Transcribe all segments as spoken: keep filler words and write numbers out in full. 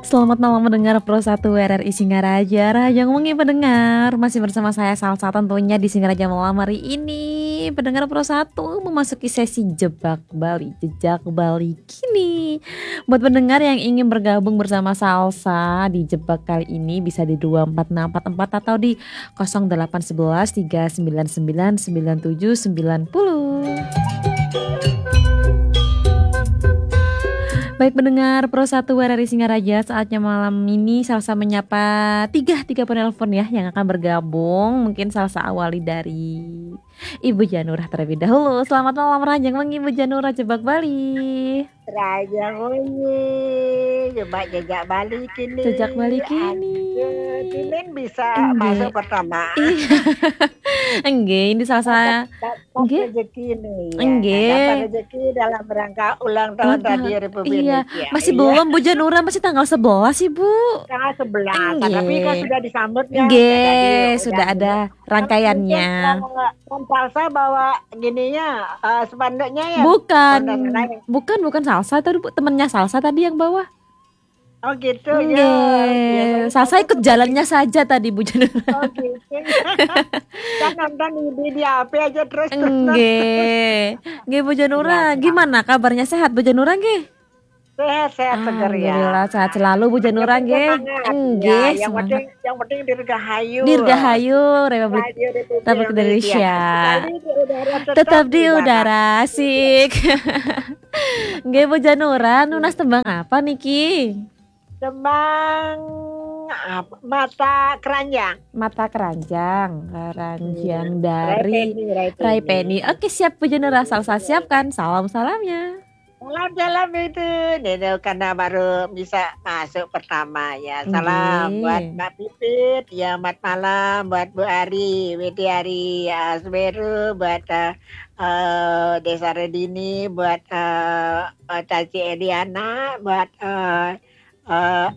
Selamat malam mendengar Pro satu R R I Singaraja. Rahajeng wengi pendengar, masih bersama saya Salsa tentunya di Singaraja malam hari ini. Pendengar Pro satu memasuki sesi Jebak Bali, Jejak Bali kini. Buat pendengar yang ingin bergabung bersama Salsa di Jebak kali ini, bisa di dua empat enam empat empat atau di kosong delapan sebelas tiga sembilan sembilan sembilan tujuh sembilan puluh. Baik pendengar Pro satu R R I Singaraja, saatnya malam ini Salsa menyapa tiga, tiga penelpon ya yang akan bergabung. Mungkin Salsa awali dari Ibu Janurah terlebih dahulu. Selamat malam, rahajeng wengi Ibu Janurah, Jebak Bali. Rahajeng wengi, Jebak Jejak Bali kini. Jejak Bali kini. Aduh, Timin bisa Inggih. Masuk pertama. Iya. Enggak, ini Salsa. Dapat, dapat Nggih. Rezeki nih, ya. Nggih. Dapat rezeki dalam rangka ulang tahun Ulang tahun. Radio Republik Iya. Indonesia. Masih Iya. Belum, Bu Janurah, masih tanggal sebelas, Ibu. Tanggal sebelas, Nggih. Tapi kan sudah disambut, ya, Nggih, sudah sudah ada. Ada rangkaiannya. Mungkin, eh, Salsa bawa gininya, eh, spanduknya, ya? Bukan. Spanduk lain. Bukan, bukan Salsa tadi, Bu. Temennya Salsa tadi yang bawa. Oh, gitu, Nggih. Ya. Salsa ikut jalannya saja tadi, Bu Janurah. Oh, gitu. Kan nonton di, di, di H P aja terus. Nggih. Nggih, Bu Janurah, iya, gimana kabarnya? Sehat, Bu Janurah, nggih? Sehat, sehat, seger, ya. Alhamdulillah, sehat selalu, Bu Janurah, nggih. Semangat. Nggih, ya, yang penting, yang penting dirgahayu. Dirgahayu, Republik, Republik Indonesia. Tetap di udara, tetap di udara, asik. Nggih, Bu Janurah, nunas tembang apa niki? Tembang apa? Mata Keranjang. Mata Keranjang, Keranjang dari Rai Penny, Rai Penny. Oke, siap, Bu Janurah, Salsa siapkan. Salam, salamnya. Salam, salam itu. Nino karena baru bisa masuk pertama, ya. Salam buat Mbak Pipit, ya, selamat malam buat Bu Ari, Widi Ari, Asberu, buat, eh, eh, Desa Redini, buat, eh, eh, Caci Ediana, buat, eh, eh,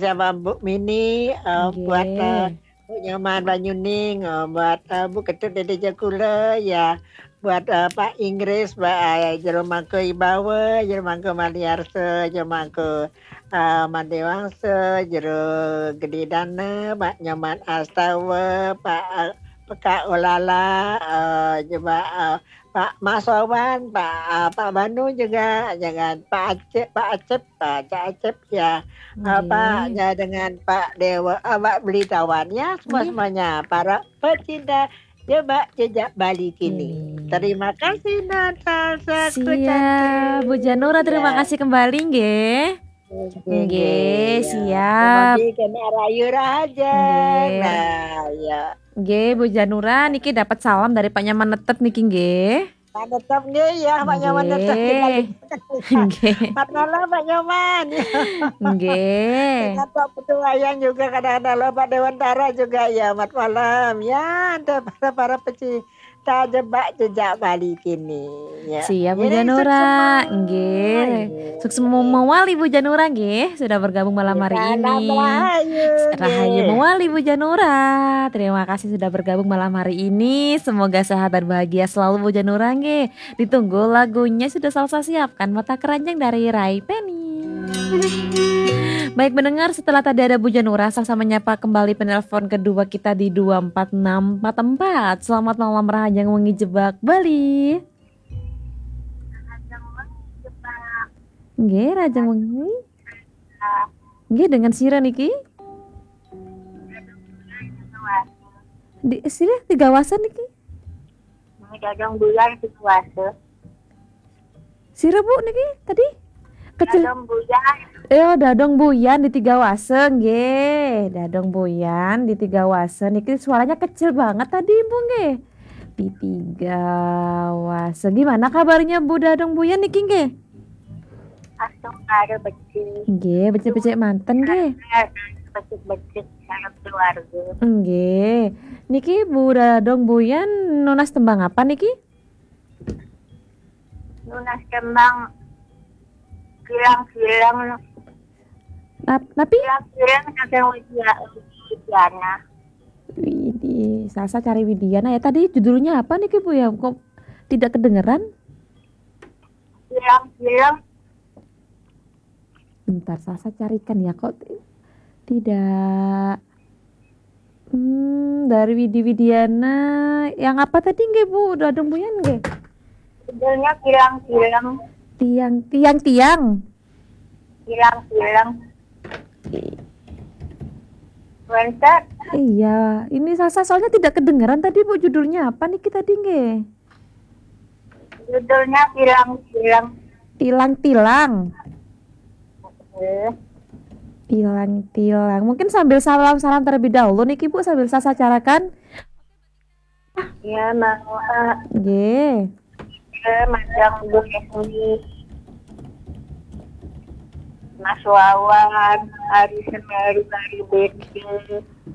siapa, Bu Mini, eh, buat, eh, Nggih. Bu Nyoman Banyuning, eh, buat, eh, Bu Ketut Dede Jakula, ya, buat, eh, Pak Inggris, Pak, eh, Jero Mangku Ibawa, Jero Mangku Maliarsa, Jero Mangku, eh, Mandewangsa, Jero Gede Dana, Pak Nyoman Astawa, Pak, eh, Peka Olala, eh, coba, eh, Pak Masowan, Pak, eh, Pak Banu juga, jangan Pak Acep, Pak Acep, Pak Acep, Acep, ya. Apa, Nggih. Ya, dengan Pak Dewa, eh, Pak Belitawan, ya, semua-semuanya, Nggih. Para pecinta Jebak Jejak Bali kini. Nggih. Terima kasih, Natasha, Siap, Bu Janura, terima kasih kembali, nggih. Nggih, nggih, ya. Siap. Mugi kena rayu raja. Nggih. Nah, ya. Nggih, Bu Janura, niki dapat salam dari Pak Nyaman Netet niki, nggih. Pak Netet, nggih, ya, Pak Nyaman Netet. Nggih. Nggih. Selamat malam, Pak Nyaman. Nggih. Dengan Pak Putu Wayan juga, kadang-kadang lo, Pak Dewantara juga, ya, selamat malam. Ya, ada para, para pecinta Jebak Jejak Bali kini, ya. Siap, Bu Janura. Nggih. Sukses mawali, Bu Janura, nggih, sudah bergabung malam hari ini. Salam rahayu, nggih. Rahayu mawali, Bu Janura. Terima kasih sudah bergabung malam hari ini. Semoga sehat dan bahagia selalu, Bu Janura, nggih. Ditunggu lagunya sudah Salsa siapkan, Mata Keranjang dari Rai Penny. Baik, mendengar, setelah tadi ada Bu Janura, Salsa menyapa kembali penelpon kedua kita di dua empat enam empat empat. Selamat malam, rahajeng wengi Jebak Bali. Nggih, rahajeng wengi. Nggih, dengan sira niki? Di, sira Tiga Wasa niki? Dadong Buyan Tiga Wasa. Sira, Bu, niki tadi? Kecil. Dadong Buyan. Eh, oh, Dadong Buyan di Tiga Wasa, nggih. Dadong Buyan di Tiga Wasa niki suaranya kecil banget tadi, Bu, nggih. Di Tiga Wasa. Gimana kabarnya, Bu, Dadong Buyan niki, nggih? Asung ada becik. Nggih, becik-becik manten, nggih. Becik-becik dalam keluarga. Nggih. Niki Bu Dadong Buyan nunas tembang apa niki? Nunas tembang Kilang-kilang. Nap-, napi? Kilang-kilang saking Widya-, Widiana. Widih, Salsa cari Widiana ya. Tadi judulnya apa niki, Bu, ya? Kok tidak kedengeran? Kilang-kilang. Bentar, Sasa carikan ya, kok ti-, tidak. Hmm, dari Widi Widiana. Yang apa tadi nggih, Bu? Dadong Buyan nggih? Judulnya Kilang-Kilang. Tiang, tiang, tiang. Kilang-Kilang. Wénten. Iya, ini Sasa soalnya tidak kedengeran tadi, Bu, judulnya apa niki tadi nggih? Judulnya Kilang-Kilang. Tilang-tilang. Eh, Tilang-tilang. Mungkin sambil salam-salam terlebih dahulu niki, Bu, sambil Sasa carakan. Ya, mau eh, Nggih. eh, Majang Bu Yasmi. Mas Wawan, Ari Semeru, Ari Bedi,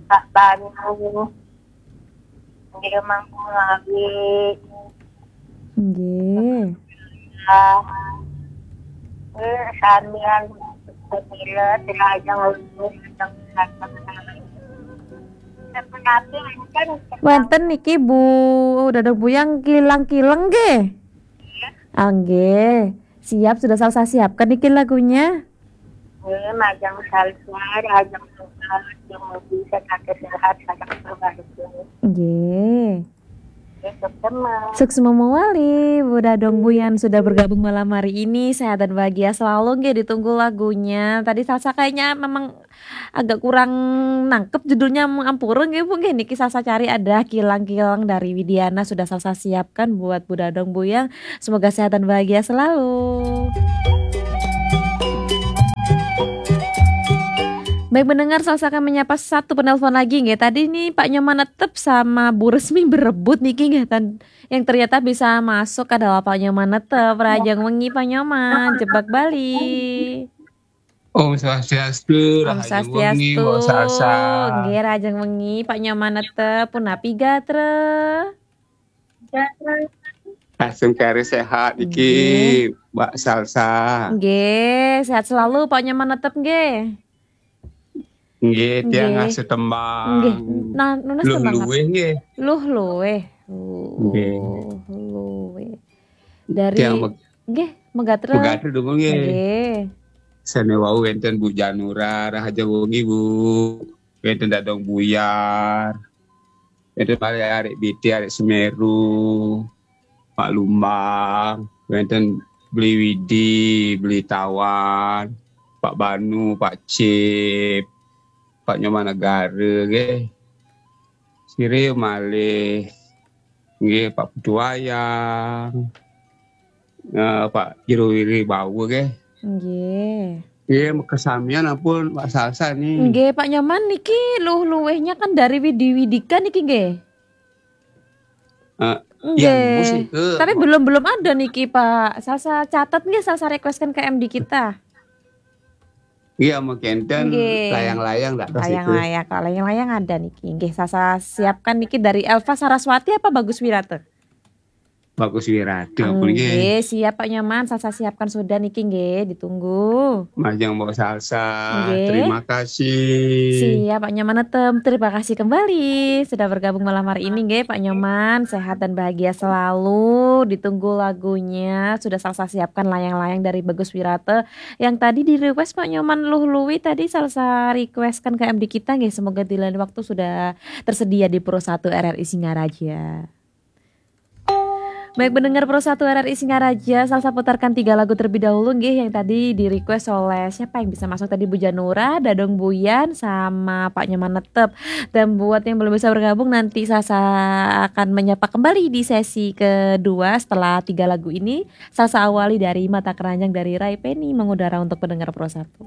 Pak Banu. Dia mampu lagi. Nggih. Ah, eh, samian pemila, tidak aja ngurus. Tapi kan Wénten niki, Bu, Dadong Buyan, Kilang-Kilang nggih? Ah, nggih. Siap, sudah Sasa siapkan niki lagunya. Eh, Majang Salsa, Rajang Salsa, yang bisa kata sehat, sadar keluarga. Nggih. Besok teman. Suksma mawali, Bu Dadong Buyan sudah bergabung malam hari ini. Sehat dan bahagia selalu nggih, ditunggu lagunya. Tadi Sasa kayaknya memang agak kurang nangkep judulnya, ampura nggih, Bu, nggih. Niki Sasa cari ada Kilang-Kilang dari Widiana sudah Sasa siapkan buat Bu Dadong Buyan. Semoga sehat dan bahagia selalu. Baik, mendengar, Sasa akan menyapa satu penelpon lagi nggih. Tadi nih Pak Nyoman Netep sama Bu Resmi berebut niki nggih. Tan- yang ternyata bisa masuk adalah Pak Nyoman Netep. Rajang wengi Pak Nyoman, jebak Bali. Om Swastiastu, Om Rahayu wengi, Swastiastu. Mbok Sasa. Nggih, Rajang wengi Pak Nyoman Netep, punapi gatra? Langsung kari sehat iki, Mbak Salsa. Nggih, sehat selalu Pak Nyoman Netep nggih. Nggih, tiang Nggih. Ngasuh Tembang. Nggih. Nah, nunas tembang apa? Luh-luwe nggih. Luh-luwe. Nggih. Luh-luwe. Dari Tiang Meg- nggih, Megatra. Megatra dungu nggih. Nggih. Sane wau wénten Bu Janura, Rahayu wengi, Bu. Wénten Dadong Buyar. Wénten malih Arek Biti, Arek Semeru. Pak Lumbang, wénten Beli Widi, Beli Tawan, Pak Banu, Pak Cip, Pak Nyoman Negara nggih. Sire malih nggih Pak Putu Wayang. Eh, Pak Jero Wiri Bawa nggih. Nggih. Nggih, kesamian ampun Pak Salsa nih. Nggih, Pak Nyoman niki luh-luwehnya kan dari Widi Widika niki nggih. Eh, Nggih. yang musik ke Tapi belum belum ada niki Pak. Salsa catat nggih, Salsa requestkan ke M D kita. Iya, mungkin Nggih. Layang-layang dak pas itu. Layang-layang, kalau layang-layang ada niki. Nggih, Salsa siapkan niki dari Elva Saraswati apa Bagus Wirata? Bagus Wirata pun nggih. Nggih, siap Pak Nyoman, Salsa siapkan sudah niki nggih, ditunggu. Majang Mbok Salsa, Nggih. Terima kasih. Siap Pak Nyoman Netem, terima kasih kembali sudah bergabung malam hari ini nggih Pak Nyoman, sehat dan bahagia selalu. Ditunggu lagunya, sudah Salsa siapkan layang-layang dari Bagus Wirata yang tadi di request Pak Nyoman Luh Luwi tadi Salsa requestkan ke M D kita nggih, semoga di lain waktu sudah tersedia di Pro satu R R I Singaraja. Baik, mendengar Pro satu R R I Singaraja, Salsa putarkan tiga lagu terlebih dahulu nggih yang tadi di request oleh siapa yang bisa masuk tadi, Bu Janura, Dadong Buyan, sama Pak Nyoman Netep. Dan buat yang belum bisa bergabung, nanti Salsa akan menyapa kembali di sesi kedua setelah tiga lagu ini. Salsa awali dari Mata Keranjang dari Rai Penny mengudara untuk pendengar Pro satu.